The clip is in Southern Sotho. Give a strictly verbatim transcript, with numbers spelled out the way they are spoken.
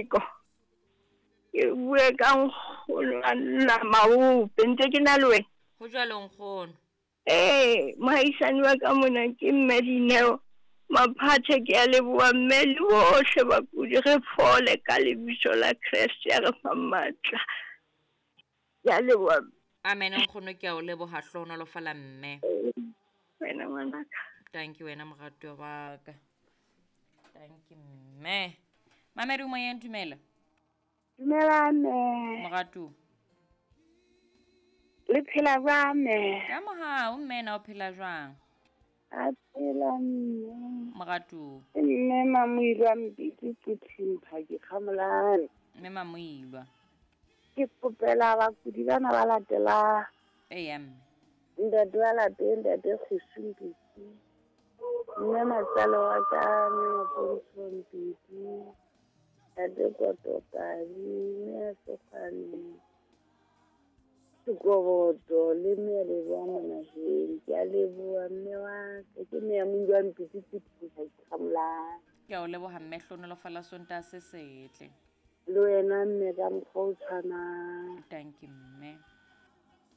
Ko ke bue ka nkgono a nna maope ntse ke na le wena. Ho jwalo nkgono. Ee, mohaisane wa ka mona ke mme Dineo Maphathe, ke a leboha mme le bohle bakudi, re fole ka lebitso la Kreste ya re fang matla. Ke a leboha. Amen nkgono, ke a o leboha, hlohonolofala mme. Wena ngwanaka. Thank you wena moratuwa wa ka. Thank you mme. Mamedi moyeng, dumela. Dumela mme. Moratuwa. Le phela jwang mme? Ka mohau mme, na o phela jwang? A phela mme. Moratuwa. Mme Mamoilwa Mpiti Puthing Phaki Kgamolane. Mme Mamoilwa. Ke kopela bakudi bana ba latelang. Eya mme. Ntate wa lapeng, ntate Kgosi Mpiti. Mme matsale wa ka, mme Mapontsho Mpiti. Ntate Kotokabi, mme Sekgwane Sekoboto le mme Leboa Monaheng. Ke a leboha mme wa ka, ke mme ya Moilwa Mpiti Puthing Phaki Kgamolane. Ke a o leboha mme, hlohonolofala Sontaha se setle. Le wena mme ka mokgwa o tshwanang. Thank you mme.